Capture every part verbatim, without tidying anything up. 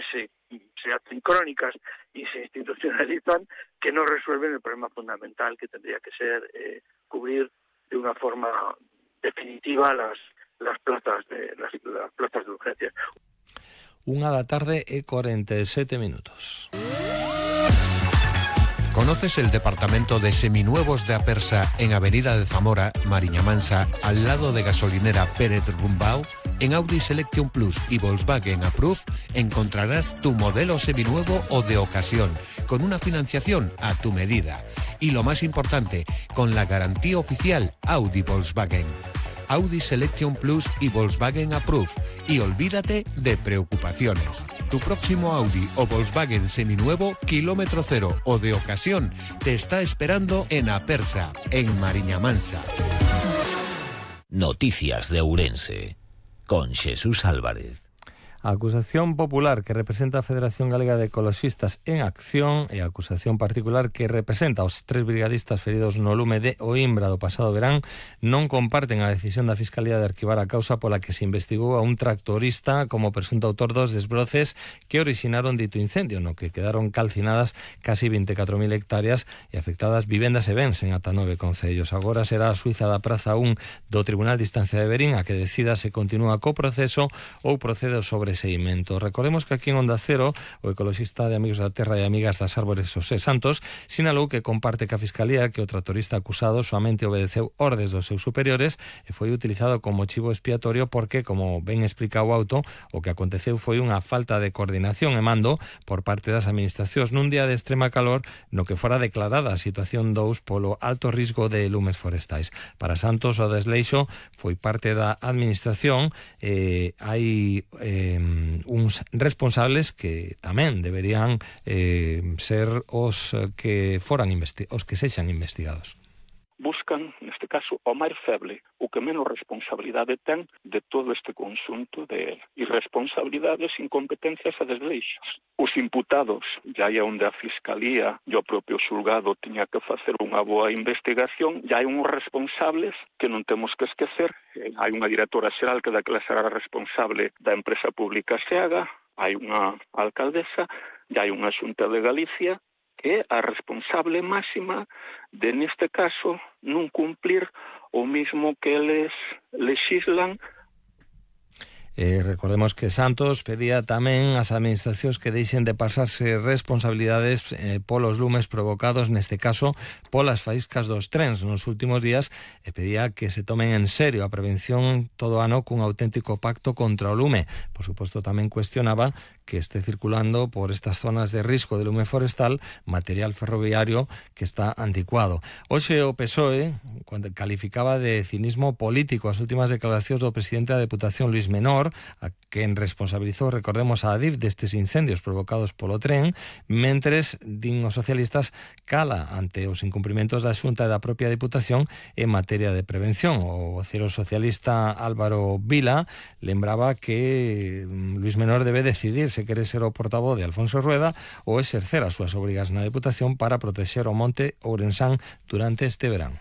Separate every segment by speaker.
Speaker 1: que se, se hacen crónicas y se institucionalizan, que no resuelven el problema fundamental que tendría que ser eh, cubrir de una forma definitiva las las plazas de las, las plazas de urgencia.
Speaker 2: Una da tarde y cuarenta y siete minutos.
Speaker 3: ¿Conoces el departamento de seminuevos de Apersa en Avenida de Zamora, Mariña Mansa, al lado de gasolinera Pérez Rumbao? En Audi Selection Plus y Volkswagen Approve encontrarás tu modelo seminuevo o de ocasión, con una financiación a tu medida. Y lo más importante, con la garantía oficial Audi Volkswagen. Audi Selection Plus y Volkswagen Approve. Y olvídate de preocupaciones. Tu próximo Audi o Volkswagen seminuevo, kilómetro cero o de ocasión, te está esperando en Apersa, en Mariña Mansa.
Speaker 4: Noticias de Ourense, con Jesús Álvarez.
Speaker 2: A acusación popular que representa a Federación Galega de Ecoloxistas en Acción e a acusación particular que representa aos tres brigadistas feridos no lume de Oimbra do pasado verán non comparten a decisión da Fiscalía de arquivar a causa pola que se investigou a un tractorista como presunto autor dos desbroces que originaron dito incendio, no que quedaron calcinadas casi vinte e catro mil hectáreas e afectadas vivendas e bens en ata nove concellos. Agora será a Suiza da Praza un do Tribunal de Instancia de Verín a que decida se continúa co proceso ou procede sobre seguimento. Recordemos que aquí en Onda Cero o ecoloxista de Amigos da Terra e Amigas das Árbores Xosé Santos sinalou que comparte que a Fiscalía que o tractorista acusado soamente obedeceu ordes dos seus superiores e foi utilizado como chivo expiatorio porque, como ben explica o auto, o que aconteceu foi unha falta de coordinación e mando por parte das administracións nun día de extrema calor no que fora declarada a situación dous polo alto risco de lumes forestais. Para Santos o desleixo foi parte da administración e eh, hai eh, uns responsables que tamén deberían eh, ser os que foran investi- os que sexan investigados.
Speaker 5: Buscan, neste caso, o máis feble, o que menos responsabilidade ten de todo este conxunto de irresponsabilidades, incompetencias e desleixos. Os imputados, já é onde a Fiscalía e o propio xulgado tiña que facer unha boa investigación, já hai uns responsables que non temos que esquecer. Hai unha directora xeral que daquela será responsable da empresa pública SEAGA, hai unha alcaldesa, e hai unha Xunta de Galicia que é a responsable máxima de, neste caso, non cumplir o mismo que eles lexislan.
Speaker 2: Eh, recordemos que Santos pedía tamén ás administracións que deixen de pasarse responsabilidades eh, polos lumes provocados, neste caso, polas faíscas dos trens nos últimos días, e pedía que se tomen en serio a prevención todo ano cun auténtico pacto contra o lume. Por suposto, tamén cuestionaba que esté circulando por estas zonas de risco de lume forestal material ferroviario que está anticuado. Hoxe o P S O E cuando calificaba de cinismo político as últimas declaracións do presidente da Deputación Luís Menor, a quen responsabilizou, recordemos, a Adif destes incendios provocados polo tren, mentres, din os socialistas, cala ante os incumprimentos da Xunta e da propia Deputación en materia de prevención. O vocero socialista Álvaro Vila lembraba que Luís Menor debe decidir se quere ser o portavoz de Alfonso Rueda ou exercer as súas obrigas na Deputación para protexer o monte ourensán durante este verán.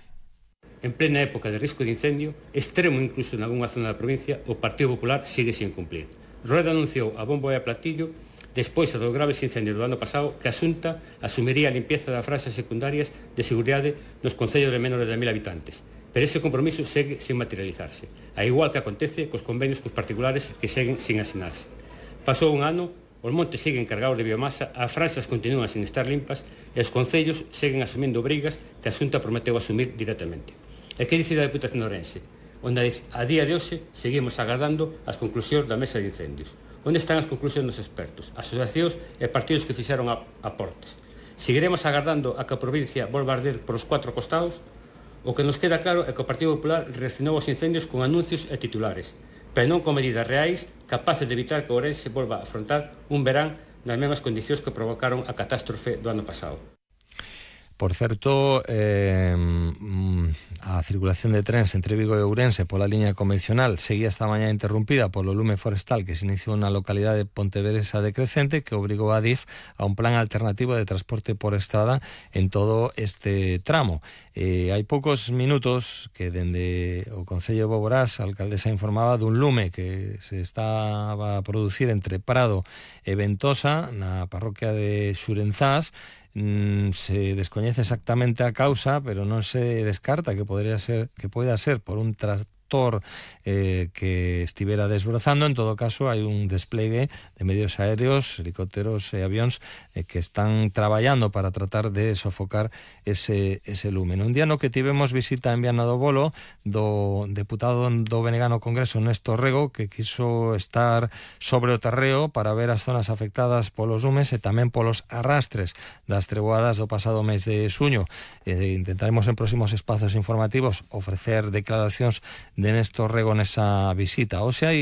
Speaker 6: En plena época de risco de incendio, extremo incluso en algunha zona da provincia, o Partido Popular sigue sin cumplir. Rueda anunciou a bombo e a platillo, despois dos graves incendios do ano pasado, que a Xunta asumiría a limpieza das franxas secundarias de seguridade nos concellos de menores de mil habitantes. Pero ese compromiso segue sin materializarse, a igual que acontece cos convenios cos particulares que seguen sin asinarse. Pasou un ano, os montes seguen cargados de biomasa, as franxas continúan sin estar limpas e os concellos seguen asumindo obrigas que a Xunta prometeu asumir directamente. E que dicir da Deputación de Ourense, onde a día de hoxe seguimos agardando as conclusións da mesa de incendios. Onde están as conclusións dos expertos, asociacións e partidos que fixeron aportes? Seguiremos agardando a que a provincia volva a arder por os cuatro costados? O que nos queda claro é que o Partido Popular reaccionou aos incendios con anuncios e titulares, pero non con medidas reais capaces de evitar que Ourense volva a afrontar un verán nas mesmas condicións que provocaron a catástrofe do ano pasado.
Speaker 2: Por certo, eh, a circulación de trens entre Vigo e Ourense pola liña convencional seguía esta mañá interrumpida polo lume forestal que se iniciou na localidade de Pontevedresa de Crecente, que obrigou a DIF a un plan alternativo de transporte por estrada en todo este tramo. Eh, hai poucos minutos que dende o Concello de Boborás a alcaldesa informaba dun lume que se estaba a producir entre Prado e Ventosa na parroquia de Xurenzás. Mm, se descoñece exactamente a causa, pero non se descarta que podría ser que poida ser por un tractor eh, que estivera desbrozando. En todo caso, hai un desplegue de medios aéreos, helicópteros e avións eh, que están traballando para tratar de sofocar ese, ese lume. Un día no que tivemos visita en Viana do Bolo do deputado do Benegano Congreso, Néstor Rego, que quiso estar sobre o terreo para ver as zonas afectadas polos lumes e tamén polos arrastres das treboadas do pasado mes de xuño. Eh, intentaremos en próximos espazos informativos ofrecer declaracións de Néstor Rego nesa visita. Hoxe hai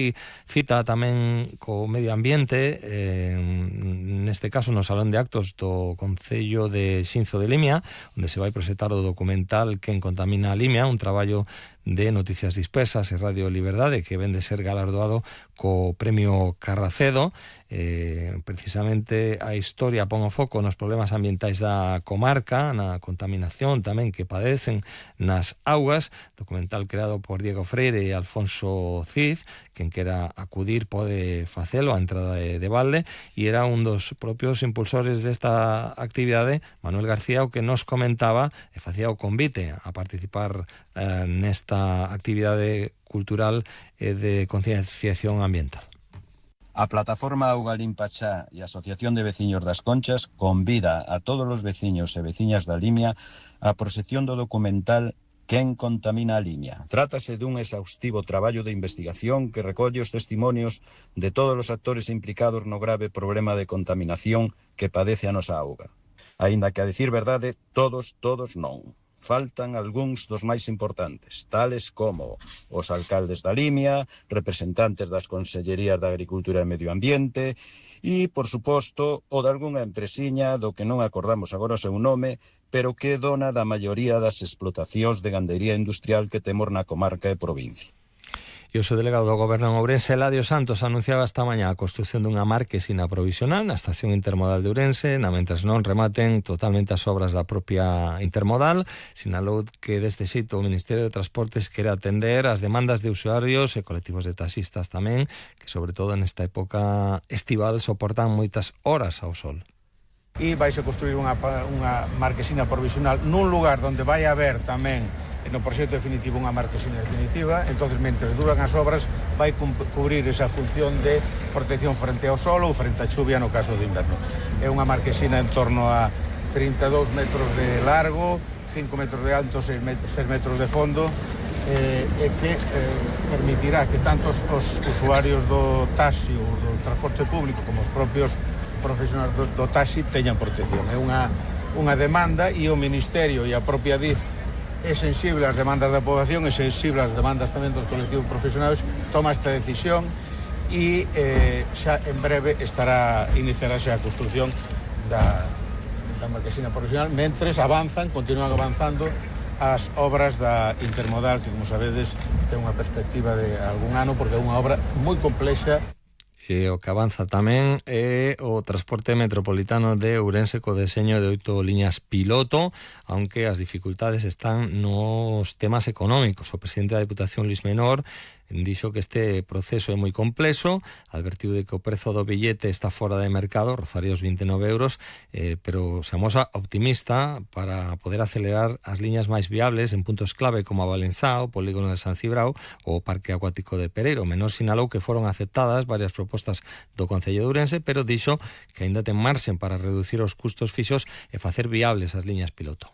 Speaker 2: cita tamén co medio ambiente, eh, neste caso no Salón de Actos do Concello de Xinzo de Limia, onde se vai presentar o documental Quen contamina a Limia, un traballo de Noticias Dispersas e Radio Liberdade que ven de ser galardoado co Premio Carracedo. Eh, precisamente a historia pon o foco nos problemas ambientais da comarca, na contaminación tamén que padecen nas augas, documental creado por Diego Freire e Alfonso Cid. Quen quera acudir pode facelo a entrada de, de balde, e era un dos propios impulsores desta actividade, Manuel García, o que nos comentaba e facía o convite a participar eh, nesta actividade cultural e de concienciación ambiental.
Speaker 7: A plataforma Auga Limpa Xa e a Asociación de Veciños das Conchas convida a todos os veciños e veciñas da Limia á proxección do documental Quen contamina a Limia. Trátase dun exhaustivo traballo de investigación que recolle os testimonios de todos os actores implicados no grave problema de contaminación que padece a nosa auga. Aínda que, a dicir verdade, todos, todos non. Faltan algúns dos máis importantes, tales como os alcaldes da Limia, representantes das Consellerías de Agricultura e Medio Ambiente e, por suposto, o de algunha empresiña do que non acordamos agora o seu nome, pero que é dona da maioría das explotacións de gandería industrial que temos na comarca e provincia.
Speaker 2: E o seu delegado do Goberno en Ourense, Eladio Santos, anunciaba esta mañá a construción dunha marquesina provisional na estación intermodal de Ourense, na mentres non rematen totalmente as obras da propia intermodal. Sinalou que deste xeito o Ministerio de Transportes quere atender as demandas de usuarios e colectivos de taxistas tamén, que sobre todo nesta época estival soportan moitas horas ao sol.
Speaker 8: E vais a construir unha, unha marquesina provisional nun lugar onde vai haber tamén no proxecto definitivo unha marquesina definitiva. Entonces, mentre duran as obras, vai cubrir esa función de protección frente ao sol ou frente á chuvia no caso de inverno. É unha marquesina en torno a trinta e dous metros de largo, cinco metros de alto, seis metros de fondo, eh, e que eh, permitirá que tanto os, os usuarios do taxi ou do transporte público como os propios profesionais do, do taxi teñan protección. É unha, unha demanda, e o Ministerio e a propia D I F é sensible ás demandas da poboación, é sensible ás demandas tamén dos colectivos profesionais, toma esta decisión e eh, xa en breve estará iniciarase a construción da, da marquesina provisional, mentres avanzan, continúan avanzando as obras da intermodal, que, como sabedes, ten unha perspectiva de algún ano, porque é unha obra moi complexa.
Speaker 2: E o que avanza tamén é o transporte metropolitano de Ourense co deseño de oito liñas piloto, aunque as dificultades están nos temas económicos. O presidente da Deputación, Luis Menor, dixo que este proceso é moi complexo, advertiu de que o prezo do billete está fora de mercado, rozaría os vinte e nove euros, eh, pero se amosa optimista para poder acelerar as liñas máis viables en puntos clave como a Valenzá, o polígono de San Cibrao ou o Parque Acuático de Pereiro. Menor sinalou que foron aceptadas varias propostas do Concello de Ourense, pero dixo que aínda ten marxen para reducir os custos fixos e facer viables as liñas piloto.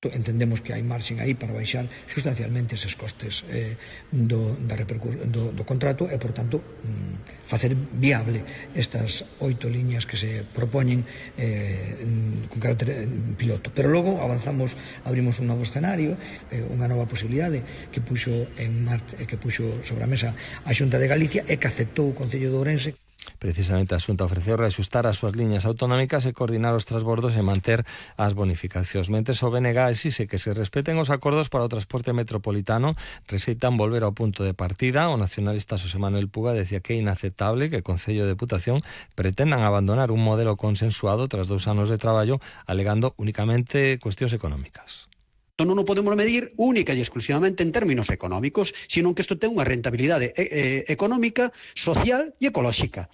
Speaker 9: Entendemos que hai marxen aí para baixar sustancialmente eses costes eh, do, da do, do contrato e, por tanto, mm, facer viable estas oito liñas que se propoñen eh, con carácter piloto. Pero logo avanzamos, abrimos un novo escenario, eh, unha nova posibilidade que puxo en Marte, que puxo sobre a mesa a Xunta de Galicia e que aceptou o Concello de Ourense.
Speaker 2: Precisamente a Xunta ofreceu reaxustar as súas liñas autonómicas e coordinar os transbordos e manter as bonificacións. Mentres o B N G exixe que se respeten os acordos para o transporte metropolitano, rexeitan volver ao punto de partida. O nacionalista Xosé Manuel Puga decía que é inaceptable que o Concello de Deputación pretendan abandonar un modelo consensuado tras dous anos de traballo, alegando únicamente cuestións económicas.
Speaker 10: Non o podemos medir única e exclusivamente en términos económicos, sino que isto ten unha rentabilidade eh, económica, social e ecolóxica.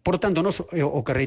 Speaker 10: Por tanto, nos, o que reiteramos